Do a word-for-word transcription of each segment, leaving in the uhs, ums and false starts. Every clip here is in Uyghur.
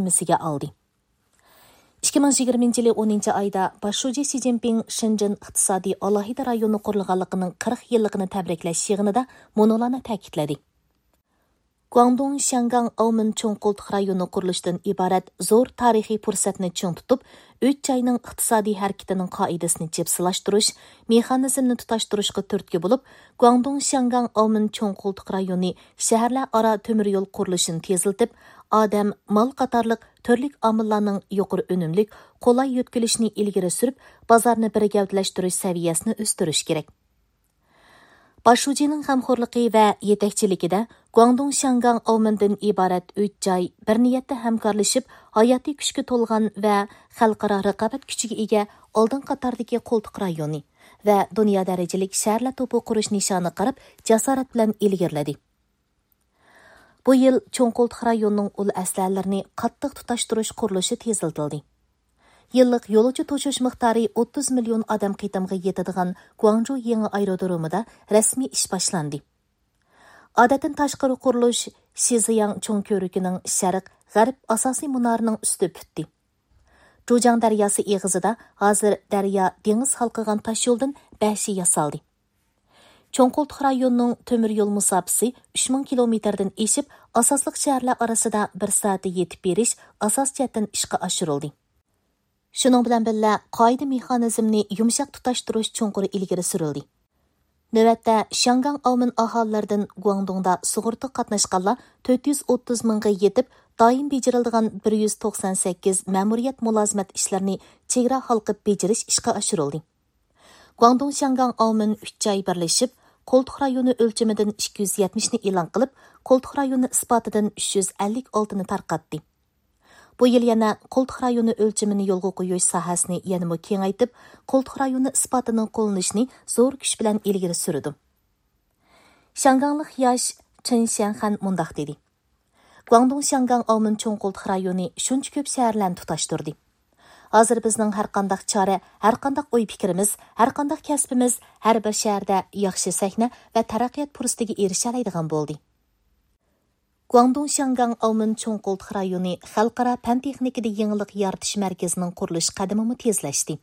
زىممىسىگە ئالدى. ئىككى مىڭ يىگىرمىنچى يىلى ئونىنچى ئايدا باش شۇجى شى جىنپىڭ شېنجېن ئىقتىسادىي ئالاھىدە رايونى قۇرۇلغانلىقىنىڭ قىرىق يىللىقىنى تەبرىكلەش يىغىنىدا مۇنۇلارنى تەكىتلىدى. گۇاڭدۇڭ شياڭگاڭ ئاۋمېن چوڭ قولتۇق رايونى قۇرۇلۇشىدىن ئىبارەت زور تارىخىي پۇرسەتنى چىڭ تۇتۇپ، ئۈچ جاينىڭ ئىقتىسادىي ھەرىكىتىنىڭ قائىدىسىنى جىپسىلاشتۇرۇش مېخانىزمىنى تۇتاشتۇرۇشقا تۈرتكە بولۇپ، گۇاڭدۇڭ شياڭگاڭ ئاۋمېن چوڭ قولتۇق رايونى شەھەرلەر ئارا تۆمۈر يول قۇرۇلۇشىنى تېزلىتىپ، ئادەم، مال قاتارلىق تۈرلۈك ئامىللارنىڭ يۇقىرى ئۈنۈملۈك، قولاي يۆتكىلىشىنى ئىلگىرى سۈرۈپ، بازارنى بىر گەۋدىلەشتۈرۈش سەۋىيەسىنى ئۆستۈرۈش كېرەك. باش شۇجىنىڭ غەمخورلۇقى ۋە يېتەكچىلىكىدە گۇاڭدۇڭ شياڭگاڭ ئاۋمېندىن ئىبارەت ئۈچ جاي بىر نىيەتتە ھەمكارلىشىپ، ھاياتىي كۈچكە تولغان ۋە خەلقئارا رىقابەت كۈچىگە ئىگە ئالدىن قاتاردىكى قولتۇق رايونى ۋە دۇنيا دەرىجىلىك شەھەرلەر توپى قۇرۇش نىشانىغا قاراپ جاسارەت بىلەن ئىلگىرىلىدى. بۇ يىل چوڭ قولتۇق رايونىنىڭ ئۇل ئەسلىھەلىرىنى قاتتىق تۇتاشتۇرۇش قۇرۇلۇشى تېزلىتىلدى. يىللىق يولۇچى توشۇش مىقدارى ئوتتۇز مىليون ئادەم قېتىمغا يېتىدىغان گۇاڭجۇ يېڭى ئايرودرومىدا رەسمىي ئىش باشلاندى. ئادەتتىن تاشقىرى قۇرۇلۇش شىزياڭ چوڭ كۆۋرۈكىنىڭ شەرق، غەرب ئاساسىي مۇنارىنىڭ ئۈستى پۈتتى. جۇجياڭ دەرياسى ئېغىزىدا ھازىر دەريا دېڭىز ھالقىغان تاشيولدىن بەشى ياسالدى. چوڭ قولتۇق رايونىنىڭ تۆمۈر يول مۇساپىسى ئۈچ مىڭ كىلومېتىردىن ئېشىپ، ئاساسلىق شەھەرلەر ئارىسىدا بىر سائەتتە يېتىپ بېرىش ئاساسىي جەھەتتىن ئىشقا ئاشۇرۇلدى. شۇنىڭ بىلەن بىللە، قائىدە مېخانىزمىنى يۇمشاق تۇتاشتۇرۇش چوڭقۇر ئىلگىرى سۈرۈلدى. نۆۋەتتە، شياڭگاڭ ئاۋمېن ئاھالىلىرىدىن گۇاڭدۇڭدا سۇغۇرتىغا قاتناشقانلار تۆت يۈز ئوتتۇز مىڭغا يېتىپ، دائىم بېجىرىلىدىغان بىر يۈز توقسان سەككىز مەمۇرىيەت مۇلازىمەت ئىشلىرىنى چېگرا ھالقىپ بېجىرىش ئىشقا ئاشۇرۇلدى. گۇاڭدۇڭ شياڭگاڭ ئاۋمېن ئۈچ جاي بىرلىشىپ، قولتۇق رايونى ئۆلچىمىدىن ئىككى يۈز يەتمىشنى ئېلان قىلىپ، قولتۇق رايونى ئىسپاتىدىن ئۈچ يۈز ئەللىك ئالتىنى تارقاتتى. بۇ يىل يەنە قولتۇق رايونى ئۆلچىمىنى يولغا قويۇش ساھەسىنى يەنىمۇ كېڭەيتىپ، قولتۇق رايونى ئىسپاتىنىڭ قوللىنىشىنى زور كۈچ بىلەن ئىلگىرى سۈرىدۇ. شياڭگاڭلىق ياش چېن شيەنخەن مۇنداق دېدى: گۇاڭدۇڭ شياڭگاڭ ئاۋمېن چوڭ قولتۇق رايونى شۇنچە كۆپ شەھەرلەرنى تۇتاشتۇردى. ھازىر بىزنىڭ ھەرقانداق چارە، ھەرقانداق ئوي پىكرىمىز، ھەرقانداق كەسپىمىز ھەر بىر شەھەردە ياخشى سەھنە ۋە تەرەققىيات پۇرسىتىگە ئېرىشەلەيدىغان بولدى. گۇاڭدۇڭ شياڭگاڭ ئاۋمېن چوڭ قولتۇق رايونى خەلقئارا پەن تېخنىكىدا يېڭىلىق يارىتىش مەركىزىنىڭ قۇرۇلۇش قەدىمىمۇ تېزلەشتى.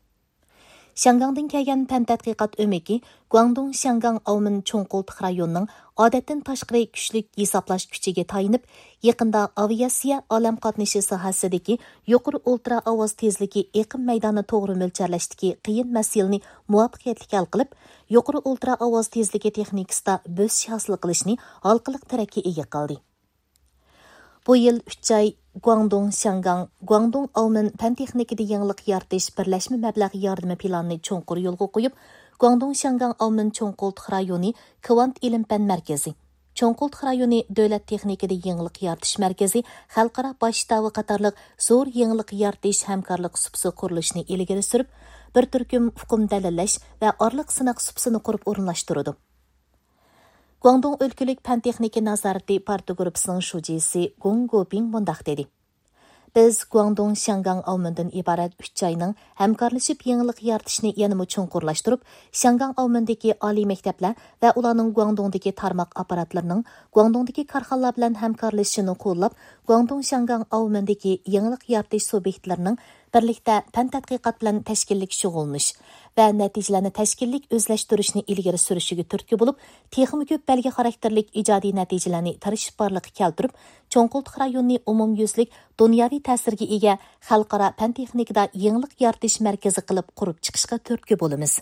شياڭگاڭدىن كەلگەن پەن تەتقىقات ئۆمىكى گۇاڭدۇڭ شياڭگاڭ ئاۋمېن چوڭ قولتۇق رايونىنىڭ ئادەتتىن تاشقىرى كۈچلۈك ھېسابلاش كۈچىگە تايىنىپ، يېقىندا ئاۋىئاتسىيە ئالەم قاتنىشى ساھەسىدىكى يۇقىرى ئۇلترا ئاۋاز تېزلىكى ئېقىم مەيدانىنى توغرا مۆلچەرلەشتىكى قىيىن مەسىلىنى مۇۋەپپەقىيەتلىك ھەل قىلىپ، يۇقىرى ئۇلترا ئاۋاز تېزلىكى تېخنىكىسىدا بۆسۈش ھاسىل قىلىشنى ھالقىلىق تىرەككە ئىگە قىلدى. بۇ يىل ئۈچ ئاي گۇاڭدۇڭ شياڭگاڭ گۇاڭدۇڭ ئاۋمېن پەن تېخنىكىدا يېڭىلىق يارىتىش بىرلەشمە مەبلەغ ياردىمى پىلانىنى چوڭقۇر يولغا قويۇپ، گۇاڭدۇڭ شياڭگاڭ ئاۋمېن چوڭ قولتۇق رايونى كۋانت ئىلىم پەن مەركىزى، چوڭ قولتۇق رايونى دۆلەت تېخنىكىدا يېڭىلىق يارىتىش مەركىزى خەلقئارا باش شتابى قاتارلىق زور يېڭىلىق يارىتىش ھەمكارلىق سۇپىسى قۇرۇلۇشىنى ئىلگىرى سۈرۈپ، بىر تۈركۈم ئۇقۇم دەلىللەش ۋە ئارىلىق سىناق سۇپىسىنى قۇرۇپ ئورۇنلاشتۇرىدۇ. گۇاڭدۇڭ ئۆلكىلىك پەن تېخنىكا نازارىتى پارتىيە گۇرۇپپىسىنىڭ شۇجىسى گوڭ گوپىڭ مۇنداق دېدى: بىز گۇاڭدۇڭ شياڭگاڭ ئاۋمېندىن ئىبارەت ئۈچ جاينىڭ ھەمكارلىشىپ يېڭىلىق يارىتىشنى يەنىمۇ چوڭقۇرلاشتۇرۇپ، شياڭگاڭ ئاۋمېندىكى ئالىي مەكتەپلەر ۋە ئۇلارنىڭ گۇاڭدۇڭدىكى تارماق ئاپپاراتلىرىنىڭ گۇاڭدۇڭدىكى كارخانىلار بىلەن ھەمكارلىشىشىنى قوللاپ، گۇاڭدۇڭ شياڭگاڭ ئاۋمېندىكى يېڭىلىق يارىتىش سۇبيېكتلىرىنىڭ بىرلىكتە پەن تەتقىقات بىلەن تەشكىللىك شۇغۇللىنىش ۋە نەتىجىلەرنى تەشكىللىك ئۆزلەشتۈرۈشنى ئىلگىرى سۈرۈشىگە تۈرتكە بولۇپ، تېخىمۇ كۆپ بەلگە خاراكتېرلىك ئىجادىي نەتىجىلەرنى تىرىشىپ بارلىققا كەلتۈرۈپ، چوڭ قولتۇق رايونىنى ئومۇميۈزلۈك دۇنياۋى تەسىرگە ئىگە خەلقئارا پەن تېخنىكىدا يېڭىلىق يارىتىش مەركىزى قىلىپ قۇرۇپ چىقىشقا تۈرتكە بولىمىز.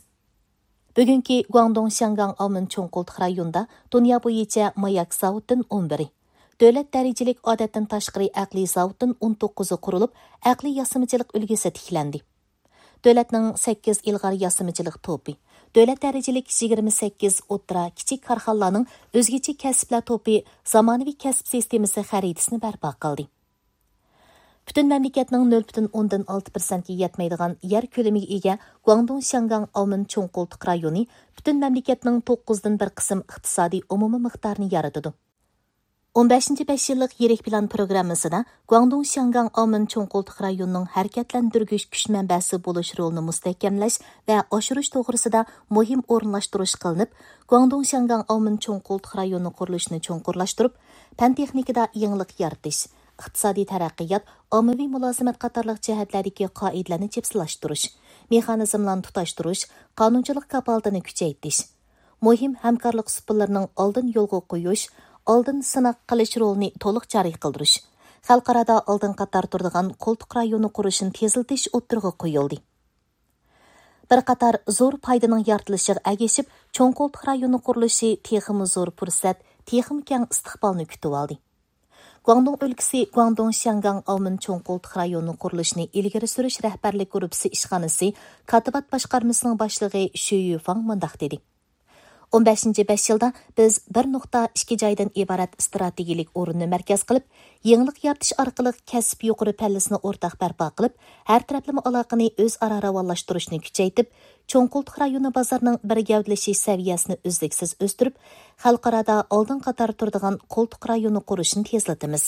بۈگۈنكى گۇاڭدۇڭ شياڭگاڭ ئاۋمېن چوڭ قولتۇق رايونىدا دۇنيا بويىچە ماياك زاۋۇتتىن ئون بىرى، دۆلەت دەرىجىلىك ئادەتتىن تاشقىرى ئەقلىي زاۋۇتتىن ئون توققۇزى قۇرۇلۇپ، ئەقلىي ياسىمىچىلىق ئۈلگىسى تىكلەندى. دۆلەتنىڭ سەككىز ئىلغار ياسىمىچىلىق توپى، دۆلەت دەرىجىلىك يىگىرمە سەككىز ئوتتۇرا، كىچىك كارخانىلارنىڭ ئۆزگىچە كەسىپلەر توپى زامانىۋى كەسىپ سىستېمىسى خەرىتىسىنى بەرپا قىلدى. پۈتۈن مەملىكەتنىڭ نۆل پۈتۈن ئوندىن ئالتە پىرسەنتكە يەتمەيدىغان يەر كۆلىمىگە ئىگە گۇاڭدۇڭ شياڭگاڭ ئاۋمېن چوڭ قولتۇق رايونى پۈتۈن مەملىكەتنىڭ توققۇزدىن بىر قىسىم ئىقتىسادىي ئومۇمىي مىقدارىنى يارىتىدۇ. ئون بەشىنچى بەش يىللىق يىرىك پىلان پروگراممىسىدا گۇاڭدۇڭ شياڭگاڭ ئاۋمېن چوڭ قولتۇق رايونىنىڭ ھەرىكەتلەندۈرگۈچ كۈچ مەنبەسى بولۇش رولىنى مۇستەھكەملەش ۋە ئاشۇرۇش توغرىسىدا مۇھىم ئورۇنلاشتۇرۇش قىلىنىپ، گۇاڭدۇڭ شياڭگاڭ ئاۋمېن چوڭ قولتۇق رايونى قۇرۇلۇشىنى چوڭقۇرلاشتۇرۇپ، پەن تېخنىكىدا يېڭىلىق يارىتىش، ئىقتىسادىي تەرەققىيات، ئاممىۋى مۇلازىمەت قاتارلىق جەھەتلەردىكى قائىدىلەرنى جىپسىلاشتۇرۇش، مېخانىزملارنى تۇتاشتۇرۇش، قانۇنچىلىق كاپالىتىنى كۈچەيتىش، مۇھىم ھەمكارلىق ئۇسۇللىرىنىڭ ئالدىن يولغا قويۇش، ئالدىن سىناق قىلىش رولىنى تولۇق جارى قىلدۇرۇش، خەلقئارادا ئالدىنقى قاتاردا تۇرىدىغان قولتۇق رايونى قۇرۇشنى تېزلىتىش ئوتتۇرىغا قويۇلدى. بىر قاتار زور پايدىنىڭ يارىتىلىشىغا ئەگىشىپ، چوڭ قولتۇق رايونى قۇرۇلۇشى تېخىمۇ زور پۇرسەت، تېخىمۇ كەڭ ئىستىقبالنى كۈتۈۋالدى. گۇاڭدۇڭ ئۆلكىسى گۇاڭدۇڭ شياڭگاڭ ئاۋمېن چوڭ قولتۇق رايونى قۇرۇلۇشىنى ئىلگىرى سۈرۈش رەھبەرلىك گۇرۇپپىسى ئىشخانىسى كاتىبات باشقارمىسىنىڭ باشلىقى شۈ يۈفاڭ مۇنداق دېدى: «ئون بەشىنچى بەش يىلدا بىز بىر نۇقتا ئىككى جايدىن ئىبارەت ئىستراتېگىيەلىك ئورۇننى مەركەز قىلىپ، يېڭىلىق يارىتىش ئارقىلىق كەسىپ يۇقىرى پەللىسىنى ئورتاق بەرپا قىلىپ، ھەر تەرەپلىمە ئالاقىنى ئۆزئارا راۋانلاشتۇرۇشنى كۈچەيتىپ، چوڭ قولتۇق رايونى بازىرىنىڭ بىر گەۋدىلىشىش سەۋىيەسىنى ئۈزلۈكسىز ئۆستۈرۈپ، خەلقئارادا ئالدىنقى قاتاردا تۇرىدىغان قولتۇق رايونى قۇرۇشنى تېزلىتىمىز.